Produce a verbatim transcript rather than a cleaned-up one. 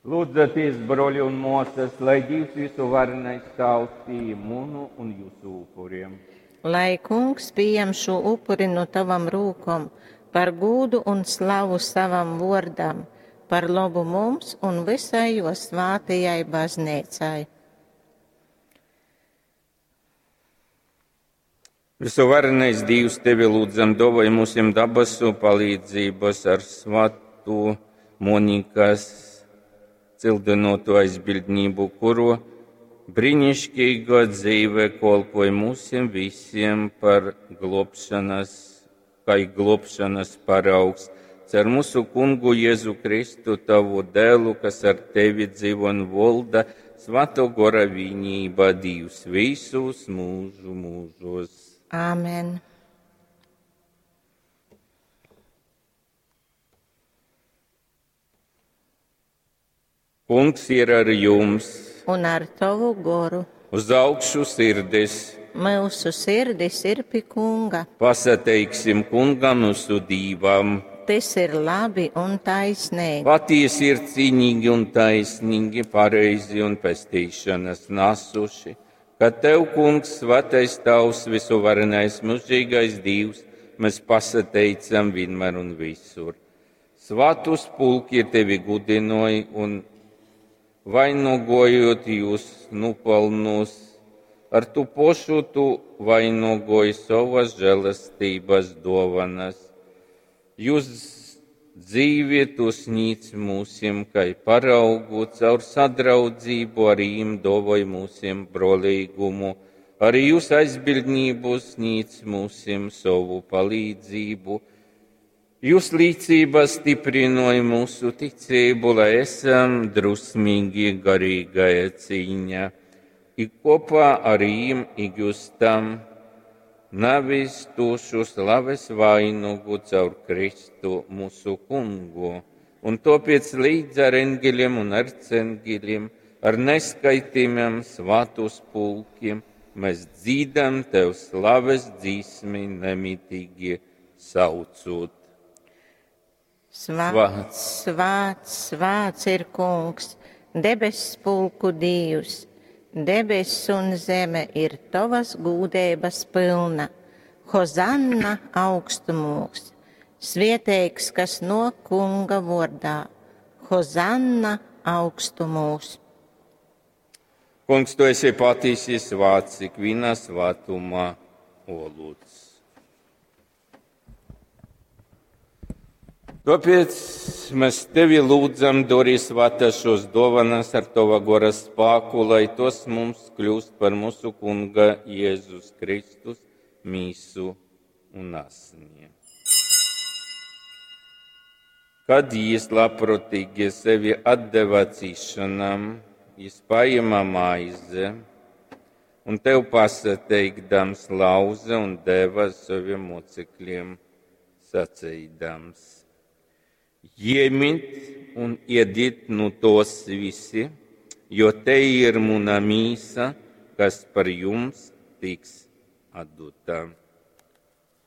Lūdzaties, broļi un mosas, lai Dievs visuvarenais Tāvs pieņem munu un jūsu upuriem. Lai kungs pieņem šo upuri no tavam rūkom, par gūdu un slavu savam vordam, par labu mums un visai jo svātajai baznīcai. Visuvarenais Dievs, tevi lūdzam, dovoj mūsim dabasu palīdzības ar svātu Monikas cildinotu aizbildnību, kuru brīnišķīgo dzīve kolpoja mūsim visiem par globšanas, kā globšanas paraugs. Cer mūsu kungu Jēzu Kristu, tavu dēlu, kas ar tevi dzīvo un valda, Svato gora vienība Dievs visus mūžu mūžos. Āmen. Kungs ir ar jums, Un ar tavu goru. uz augšu sirdis. Mūsu sirdis ir pie kunga. Pasateiksim kungam mūsu dīvam. Tas ir labi un taisnīgi. Patiesi ir cīnīgi un taisnīgi, pareizi un pestīšanas nasuši, ka tev, kungs, svatais tavs, visuvarenais mūžīgais Dievs, mēs pasateicam vienmēr un visur. Svatus pulki tevi gudinoja un vainogojot jūs nupelnus, ar tu pošu tu vainogoji savas žēlastības dovanas. Jūs dzīvi tu sniedz mūsim, kai paraugu, caur sadraudzību ar viņiem dovoj mūsim brolīgumu, arī jūs aizbildnību sniedz mūsim savu palīdzību. Jūs līdzība stiprinoja mūsu ticību, lai esam drusmīgi garīgajā cīņā, ik kopā ar viņiem iegūstam navis tūšu slaves vainagu caur Kristu mūsu kungu. Un tāpēc līdz ar engeļiem un arcengeļiem, ar neskaitīmiem svētus pulkiem, mēs dzīdam tev slaves dzīsmi nemitīgi saucot. Svāts, svāts, svāts ir kungs, debess pulku Dievs. Debess un zeme ir tavas gūdības pilna. Hozanna augstumos, svieteiks, kas no kunga vordā. Hozanna augstumos. Kungs, tu esi patiesi svāts, ikvienā svātumā olūts. Tāpēc mēs tevi lūdzam, dori svētā šos dovanas ar tava gora spēku, lai tos mums kļūst par mūsu kunga Jēzus Kristus mīsu un asni. Kad jis labprātīgi sevi atdeva cīšanām, jis paņēma maizi un tev pasateikdams lauze un deva saviem mocekļiem, sacīdams: Ņemiet un ēdiet no tos visi, jo te ir mana mīsa, kas par jums tiks atdota.